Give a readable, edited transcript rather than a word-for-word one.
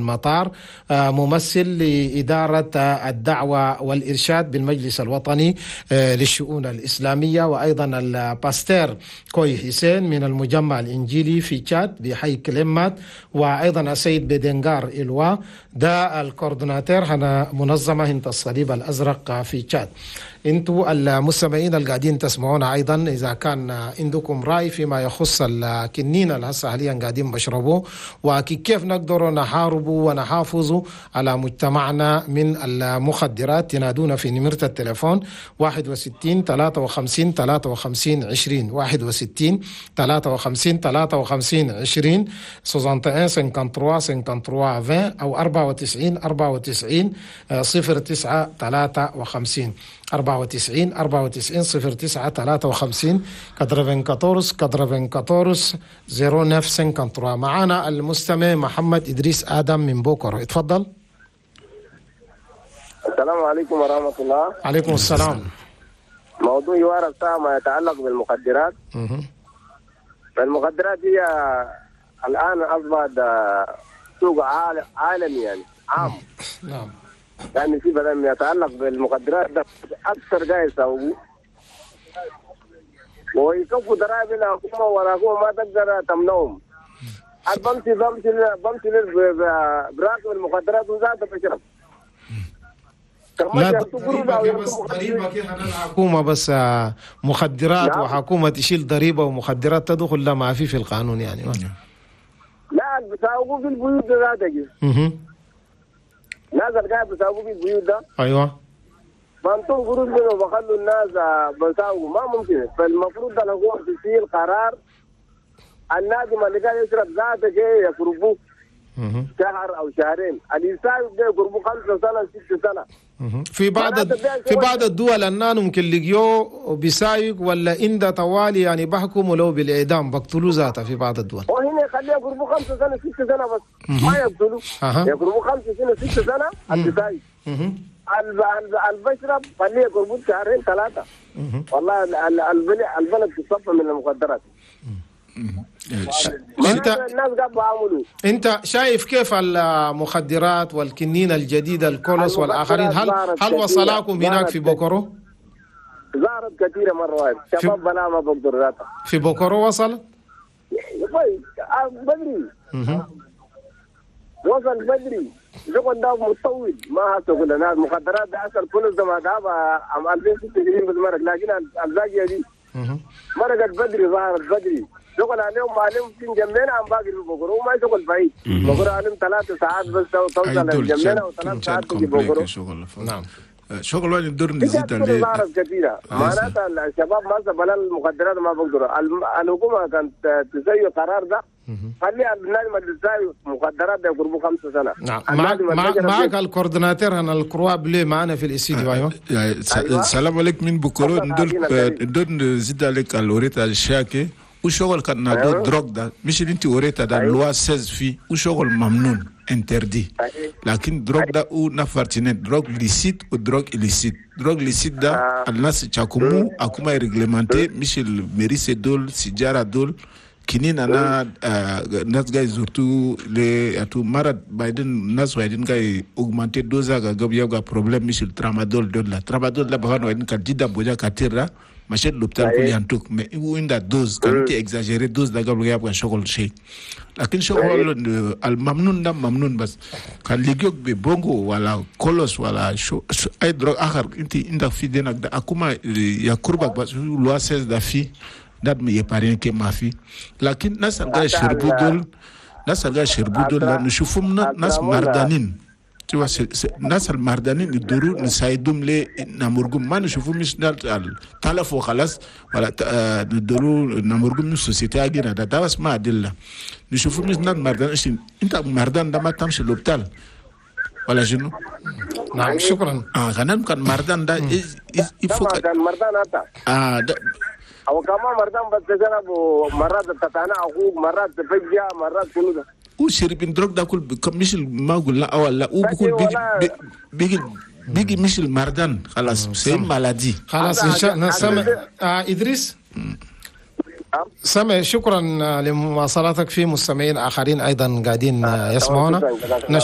المطار، ممثل لإدارة الدعوة والإرشاد بالمجلس الوطني للشؤون الإسلامية، وأيضا ال pasteur كوي حسين من المجمع الإنجيلي في تشاد بحي كليمات، وأيضا السيد بدنغار إلوا ده ال coordonnateur هنا منظمة هنت الصليب الأزرق في تشاد. انتوا المستمعين اللي قاعدين تسمعونا ايضا، اذا كان عندكم راي فيما يخص الكنين اللي هسه حاليا قاعدين بشربوه وكيف نقدر نحاربه ونحافظ على مجتمعنا من المخدرات، تنادونا في نمرة التليفون 61 53 53 20، 61 53 53 20، 61 53 53 20 او 94 94 09 53، 94 94 09 53، 94 94 09 53. معانا المستمع محمد إدريس آدم من بوكر، اتفضل. السلام عليكم ورحمة الله. عليكم السلام. موضوع حوار الساعة ما يتعلق بالمخدرات. فالمخدرات هي الآن أصبحت سوق عالمي، يعني عام. يعني في بدل ما يتعلق بالمخدرات ده أكثر جاي يسوقوا ويكفوا ضرائب الحكومة، والحكومة ما تقدر تمنعهم. بمشي بمشي بمشي براكب المخدرات وذاته بشرب. لا، ضريبة بس، ضريبة كيف الحكومة بس مخدرات؟ نعم. وحكومة تشيل ضريبة ومخدرات تدخل؟ لا، ما في القانون يعني. لا، بيساوقوا في البيوت ذاتك. ناس القاعد بيساوقوا في البيوت ده. بنطوا قروش منه وبخلوا الناس بيساوقوا، ما ممكن. فالمفروض الحكومة تشيل قرار، النادم اللي قاعد يشرب ذاته يقربوه شهر او شهرين، اللي يساوق ده يقربوه 5 سنة، 6 سنة. في بعض الدول النان ممكن لقيوه بيسايق ولا إنده طوالي يعني بحكموا له بالإعدام، بقتلوا ذاته في بعض الدول. وهنا يخليه يقربوا 5 سنة، 6 سنة بس، ما يقتلوا. يقربوا 5 سنة، 6 سنة اللي سايق. البشرب خليه يقربوا شهرين، ثلاثة. والله البلد تصفى من المخدرات. انت الناس قاعد بيعملوا. انت شايف كيف المخدرات والكنين الجديد الكولوس والاخرين، هل وصلاكم هناك في بوكورو؟ ظهرت كثيرة مرة واحدة، شباب بلا ما بقدر ذاتها. في بوكورو وصل؟ طيب، بدري. وصل بدري، شغل ده متطول، ما هسه قلنا المخدرات ده اصل كل ده ما ده عام 2026 بس مرق، لكن الباقية دي مرقت بدري، ظهرت بدري. شغل عليهم عليهم في جنبنا عم باقي في بوكورو، ما شغل بعيد، بوكورو عليهم 3 ساعات بس توصل جنبنا، وثلاث ساعات تجي بوكورو. شغل. نعم. شغل وين ندور نزيد عليه. ظهرت كثيرة، معناتها الشباب ما بلا المخدرات ما بقدروا. الحكومة كانت تسوي قرار ده، خلي النادم اللي تساوي مخدرات ده يقربوا 5 سنة. نعم، معك ال coordonnateur هنا ال Croix Bleue معنا في الاستديو، ايوه. السلام عليكم من بوكورو. ندور نزيد عليك الوريتا الشاكي وشغل كان نادو drogue ده، مش اللي انت وريتا ده، loi 16 في وشغل ممنوع، interdit، لكن drogue ده او نفر تنين، drogue licite و drogue illicite. drogue licite ده الناس تشاكمو اكما réglementé، مش المريسة دول، سيجارة دول، كنين انا ناس جاي surtout les اتو مرض بعدين ناس وايدين جاي augmenter dose قبل يبقى problème، مش الترامادول دول. لا، ترامادول لا بغان وايدين كان جدا بوجا كتير ماشي l'hôpital كل ينتوك، mais هو عند dose كان انت exagérer dose ده قبل يبقى شغل شيء. لكن شغل الممنون ده ممنون، بس كان لقيوك ببونغو ولا كولوس ولا شو اي drogue اخر انت عندك في دينك ده اكما يقربك بس، loi 16 ده في ده ما يبارين كي ما في. لكن ناس الجاي يشربوا دول، ناس الجاي يشربوا دول نشوفهم ناس مردانين، tu vois، ناس المردانين يدوروا نساعدهم لي نمرقهم، ما نشوفوا مش تلفوا خلاص ولا ندوروا نمرقهم من société اجينا ده، ده بس ما أدلة. نشوفوا مش ناس مردان، انت مردان ده ما تمشي l'hôpital ولا شنو؟ نعم، شكرا. اه، كان كان مردان ده il faut كان مردان هذا اه ده او كمان مردان بس تجرب، مرات تتانا اخوك، مرات تفجع، مرات كله ده. وشربين drogue ده كل مش ما قلنا اول لا وبكون بيجي بيجي بيجي مش المردان خلاص، c'est maladie. خلاص، ان شاء الله. سامع ادريس، سامع، شكرا لمواصلتك. في مستمعين اخرين ايضا قاعدين يسمعونا. نشكر.